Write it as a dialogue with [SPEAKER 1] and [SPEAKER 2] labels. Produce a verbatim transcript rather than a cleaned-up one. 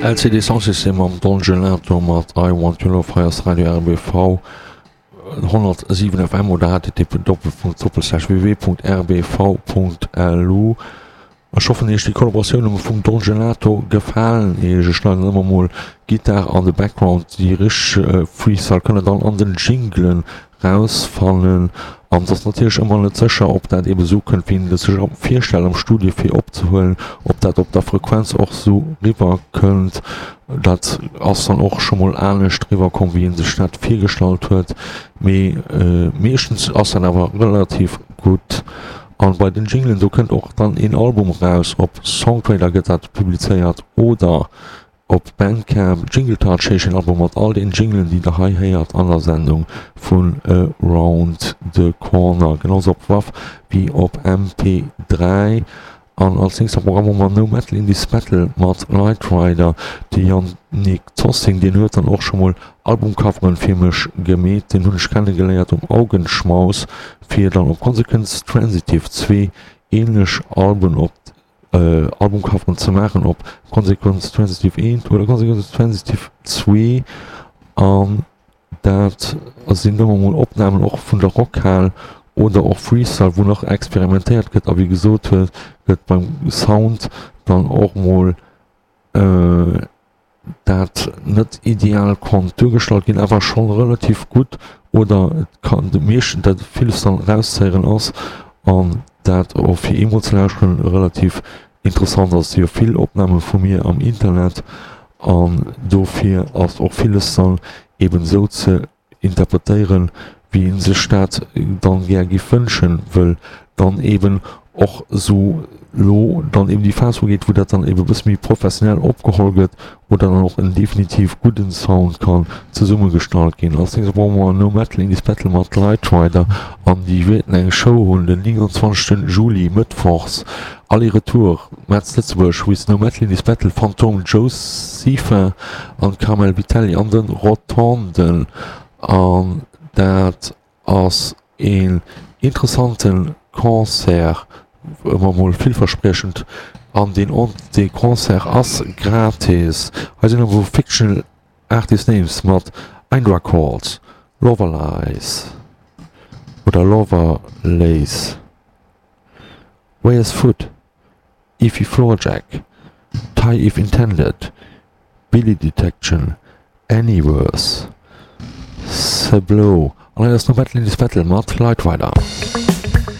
[SPEAKER 1] L C D Soundsystem mam Don Gelato mat I Want Your Love. Hei ass Radio R B V honnertsiwen F M oder H T T P doppelpunkt doppelslash W W W Punkt R B V Punkt L U. Ech hoffen, iech déi Kollaboratioune vum Don Gelato gefalen iech. Ech schneiden ëmmer mol Gitarre an de Background, déi richteg Freestyle kënne dann an den Jinglen rausfannen an et ass natierlech ëmmer net sécher, ob dat eben esou kënnt, wéi een et sech virstellt am Studio fir opzehuelen, ob dat op der Frequenz och esou riwwer kënnt. Dat ass dann och scho mol anescht riwwer komm, wéi een sech dat virgestallt huet, mee meeschtens ass dat awer relativ gutt. An bei den Jinglen, do kënnt och dann een Album raus, op Songtrader gëtt dat publizéiert oder op Bandcamp. Jingle Touch heescht den Album mat all den Jinglen, déi der hei héiert an der Sendung vun Around the Corner, genau sou op WAV wéi op M P dräi. An als nächst am Programm hu mer No Metal in This Metal mat Light Rider. De Yannick Tossing, deen huet dann och scho mol Albumcoveren fir mech gemeet. Den hunn ech kennegeléiert um Augenschmaus, fir dann op Consequence Transitive zwee ähnlech Alben op äh, Albumcoveren ze maachen, op Consequence Transitive eent oder Consequence Transitive zwee. An dat sinn ëmmer mol Opnamen och vun der Rockhal oder och Freestyle, wou nach experimentéiert gëtt a wéi gesot huet gëtt beim Sound dann och mol äh, dat net ideal konnt duergestallt ginn, awer schonn relativ gutt oder et kann de meeschten dat villes dann rauszéieren ass an dat och fir eemol ze lauschteren relativ interessant ass. Si jo vill Opname vu mir am Internet an dofir ass och villes dann eben sou ze interpretéieren, wéi een sech dat dann gär giff wënschen, wëll dann eben och sou lo dann eben déi Phas ugeet, wou dat dann eben e bësse méi professionell opgeholl gëtt oder dann och en definitiv gudden Sound kann zesummegestallt ginn. Als nächstes brauche mer No Metal in This Battle mat Light Rider an déi wäerten eng Show hunn den neunundzwanzegsten Juli, mëttwochs, Aller-Retour Metz Lëtzebuerg with No Metal in This Battle, Phantom Josepha an Carmel Vitelli an den Rotonden. An dat ass een interessanten Concert, ëmmer mol villverspriechend, an deen dee Concert ass gratis. Hei sinn awer Fictional Artist Names mat Indra Calls, Loverlies oder Loverlace, Where's Foot, Ify Floorjack, Tie If Intended, Billy Detection, Anyverse, Seblow an hei ass No Metal in This Battle mat Light Rider.